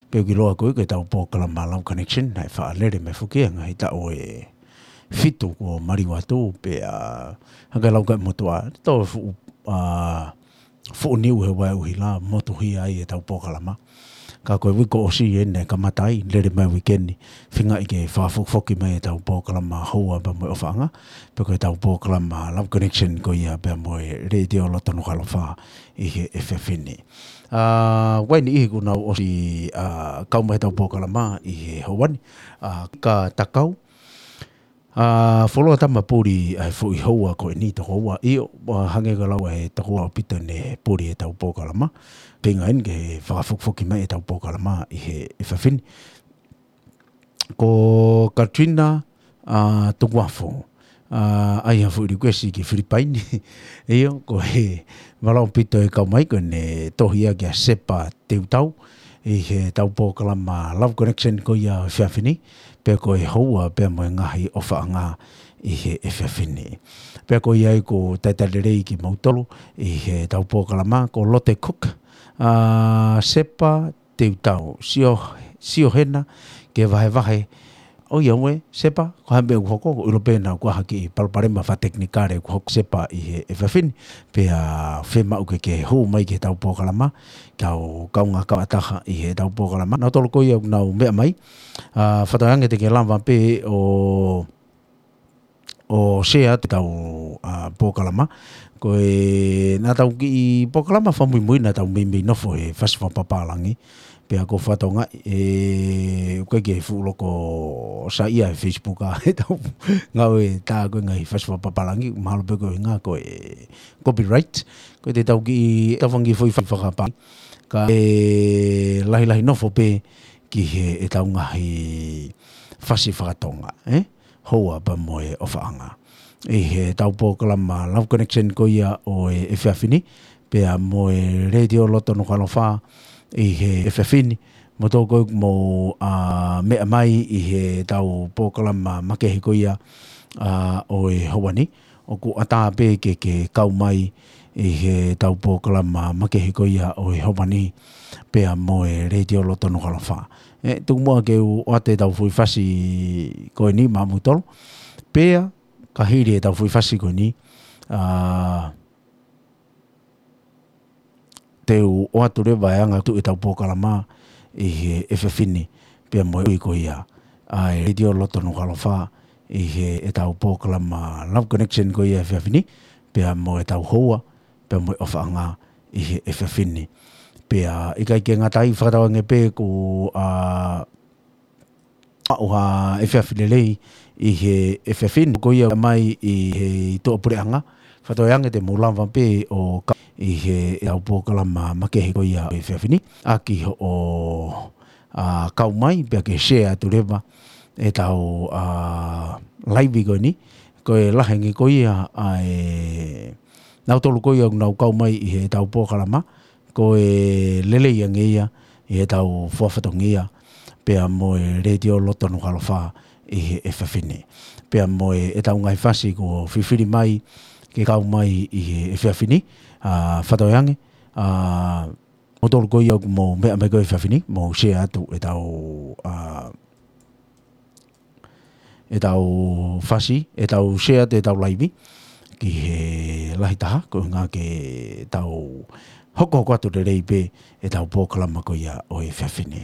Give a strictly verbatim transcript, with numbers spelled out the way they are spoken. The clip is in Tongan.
Pea ʻoku ʻiloa ko ē ko ʻetau polokalama Love Connection, naʻe faʻa lele mai foki ia he ngaahi taʻu ʻe fitu kuo maliu atu, pea hangē lau ka motuʻa, tau fuʻu, ā, fuʻu niu he vaeua ʻuhila, motuhia ai ʻetau polokalama. Ka ko e uike kuo ʻosi eni naʻe kamata ai, lele mai uike ni, feingaʻi ke fakafokifoki mai ʻetau polokalama Houa pea mo e ʻOfaʻanga, pea ko ʻetau polokalama Love Connection ko ia pea mo e Letiō Loto Nukuʻalofa ʻi he efiafi ni. Ā, ʻoku ʻi ai e niʻihi kuo nau ʻosi, ā, kau mai ʻetau polokalama ʻi he houa ni, ā, ka takau. Ā, fuoloa tama puli ʻa e foʻi houa ko eni tokoua, ʻio, ʻa, hangē ko e lau ʻa e tokoua ʻaupito ʻene puli ʻetau polokalama. Feinga eni ke fakafokifoki mai ʻetau polokalama ʻi he efiafi ni. Ko Katrina, ā, Tukuafo, ā, ʻai ha foʻi request ki Filipaini. ʻIo, ko e malava ʻaupito e kau mai ko ʻene tohi ia kia Sepa Teutau ʻi heʻetau polokalama Love Connection ko ia efiafi ni, pea ko e Houa pea mo e ngaahi ʻOfaʻanga ʻi he efiafi ni. Pea ko ia ai ʻoku talitali lelei kimoutolu ʻi heʻetau polokalama, ko Lote Cook, ā, Sepa Teutau, sio, sio hena ke vahevahe. ʻOiauē, Sepa, ko e hā e meʻa ʻoku hoko, ʻoku ʻilo pē naʻa ʻoku ʻi ai ha kiʻi palopalema fakatekinikale ʻoku hoko Sepa ʻi he efiafi ni, pea fiemaʻu ke ke hū mai ki heʻetau polokalama, kau kaungā kau ʻataha ʻi heʻetau polokalama. Nautolu ko ia ʻoku nau meʻa mai, ā, fakatauange te ke lava pē ʻo ʻo share atu ʻetau, ā, polokalama. Ko e, naʻa tau kiʻi polokalama fakamuimui naʻa tau meimei nofo he fasi fakapapālangi. Pea ko e fatongia, ē, ʻoku ʻikai ke fuʻu loko saiʻia he Facebook ʻa ʻetau ngāue tā ko e ngaahi fasi fakapapālangi, mahalo pē ko e ʻuhinga ko e copyright. Ko e te tau kiʻi, tau fanga kiʻi foʻi fasi fakapapālangi. Ka ʻe lahilahi nofo pē ki he, ʻetau ngaahi fasi fakatonga, ē? Houa pea mo e ʻOfaʻanga. ʻI heʻetau polokalama Love Connection ko ia ʻo e efiafi ni, pea mo e Letiō Loto Nukuʻalofa ʻi he efiafi ni, mo tō ko ē mo, ā, meʻa mai ʻi heʻetau polokalama makehe ko ia, ā, ʻo e houa ni, ʻoku ʻatā pē ke, ke kau mai ʻi heʻetau polokalama makehe ko ia ʻo e houa ni, pea mo e Letiō Loto Nukuʻalofa. Ē, tuku muʻa ke u ʻoatu ʻetau foʻi fasi ko eni maʻamoutolu. Pea, ka hili ʻetau foʻi fasi ko eni, ā, te u ʻoatu leva e anga ʻetau polokalama ʻi he efiafi ni, pea mo e ui ko ia ʻa e Letiō Loto Nukuʻalofa ʻi heʻetau polokalama Love Connection ko ia efiafi ni, pea mo ʻetau Houa, pea mo e ʻOfaʻanga ʻi he efiafi ni. Pea ʻikai ke ngata ai, fakatauange pē kuo, ā, maʻu ha efiafi lelei ʻi he efiafi ni, ko ia mai ʻi he tuʻapuleʻanga, fakatauange te mou lava pē ʻo kau ʻi heʻetau polokalama makehe ko ia ʻo e efiafi ni, ʻaki hoʻo, ā, kau mai, pea ke share atu leva ʻetau, ā, live ko eni, ko e lahi ange ko ia ʻa e, nautolu ko ia ʻoku nau kau mai ʻi heʻetau polokalama, ko e lelei ange ia ʻi heʻetau fua fatongia, pea mo e Letiō Loto Nukuʻalofa ʻi he efiafi ni. Pea mo e, ʻetau ngaahi fasi kuo fifili mai ke kau mai ʻi he efiafi ni, ā, fakatauange, ā, mo tolu ko ia ʻoku mou meʻa mai ko e efiafi ni, mou share atu ʻetau, ā, ʻetau fasi, ʻetau share atu ʻetau live, ki he lahi taha, ko e ʻuhinga ke tau hokohoko atu lelei pē ʻetau polokalama ko ia ʻo e efiafi ni.